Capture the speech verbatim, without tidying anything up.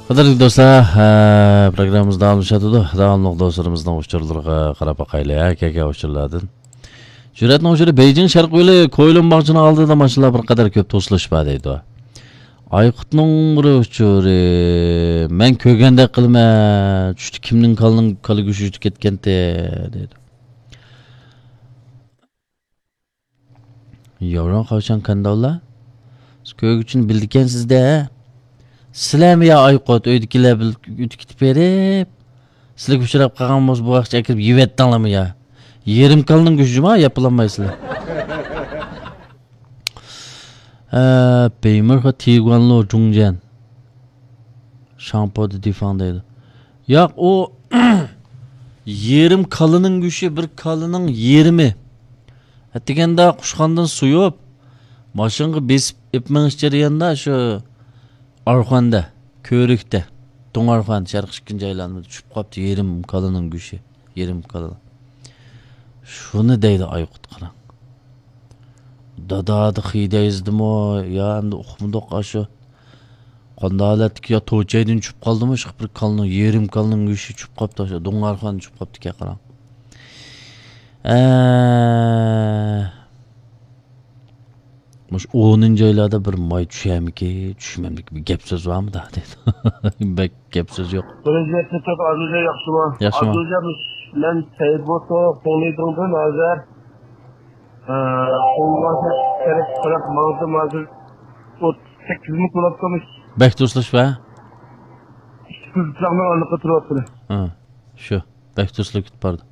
قەدىرلىك دوستلار، ھە، پروگراممىمىز داۋاملىشىۋاتىدۇ. داۋاملىق دوستلىرىمىزنىڭ ئۇچۇرلىرىغا قاراپ باقايلى، ھە، كەلگەن ئۇچۇرلاردىن. جۈرئەتنىڭ ئۇچۇرى، بېيجىڭ شەرقىي يولى كويلۇن باغچىنىڭ ئالدىدا ماشىنىلار بىر قەدەر كۆپ توسۇلۇش بار دەيدۇ. ئايقۇتنىڭ بىر ئۇچۇرى، مەن كۆرگەندەك قىلىمەن، چۈشتە كىمنىڭ كالىنىڭ كالا گۆشى ئۆتۈپ كەتكەنتى دەيدۇ. ياۋرون خاۋشان كانداۋلا، سىز كۆرگۈچىنى بىلىدىكەنسىز-دە. سىلەرمۇ يا ئايقۇت، ئۆيدىكىلەر بىلەن ئۆتۈپ كېتىپ بېرىپ، سىلەرگە ئۇچراپ قالغان بولسا، بۇ ۋاقىتقىچە ئەكىرىپ يېۋەتتىڭلارمۇ يا؟ يېرىم كالىنىڭ گۆشى جۇما ياپىلالمايسىلەر. ھە، بېيمىرخا تىگۇەنلو جۇڭجيەن. شاڭپو دېدى فاڭ دەيدۇ. ياق، ئۇ يېرىم كالىنىڭ گۆشى، بىر كالىنىڭ يېرىمى. ئەتىگەندە قۇشخانىدىن سويۇپ، ماشىنىغا بېسىپ ئېلىپ مېڭىش جەريانىدا شۇ ئارخۇەندە، كۆۋرۈكتە، دۇڭ ئارخۇەن، شەرقىي ئىككىنچى ئايلانمىدا چۈشۈپ قاپتۇ يېرىم كالىنىڭ گۆشى، يېرىم كالا. شۇنى دەيدۇ ئايقۇت، قاراڭ. دادادا خىدەيزدىمۇ يا ئەمدى ئۇقمىدۇق ئاشۇ. قانداق ھالەتتىكى يا توچەيدىن چۈشۈپ قالدىمۇ، شۇ بىر كالىنىڭ، يېرىم كالىنىڭ گۆشى چۈشۈپ قاپتۇ، ئاشۇ دۇڭ ئارخۇەن چۈشۈپ قاپتىكەن، قاراڭ. ئە، مۇشۇ ئونىنچى ئايلاردا بىر ماي چۈشەرمىكى، چۈشمەملىكى بىر گەپ سۆز بارمۇ دا دەيدۇ. بەك گەپ سۆز يوق. بىرىنچى نەتىجە ئابدۇجان ياخشىمۇ؟ ياخشىمۇ؟ ئابدۇجان، مەن سەيىت بولسا، قوڭلىدىڭدىن ھازىر، ئە، قوڭلاشنى كېرەك قاراپ ماڭدىم ھازىر. ئوتتۇز سەككىز مىنۇت بولۇپتىمىش. بەك توسۇلۇش بار؟ ئىككى كۆز پىچاقنىڭ ئارىلىقىدا تۇرۇۋاتىدۇ. ھە، شۇ. بەك توسۇلۇپ كېتىپ بارىدۇ.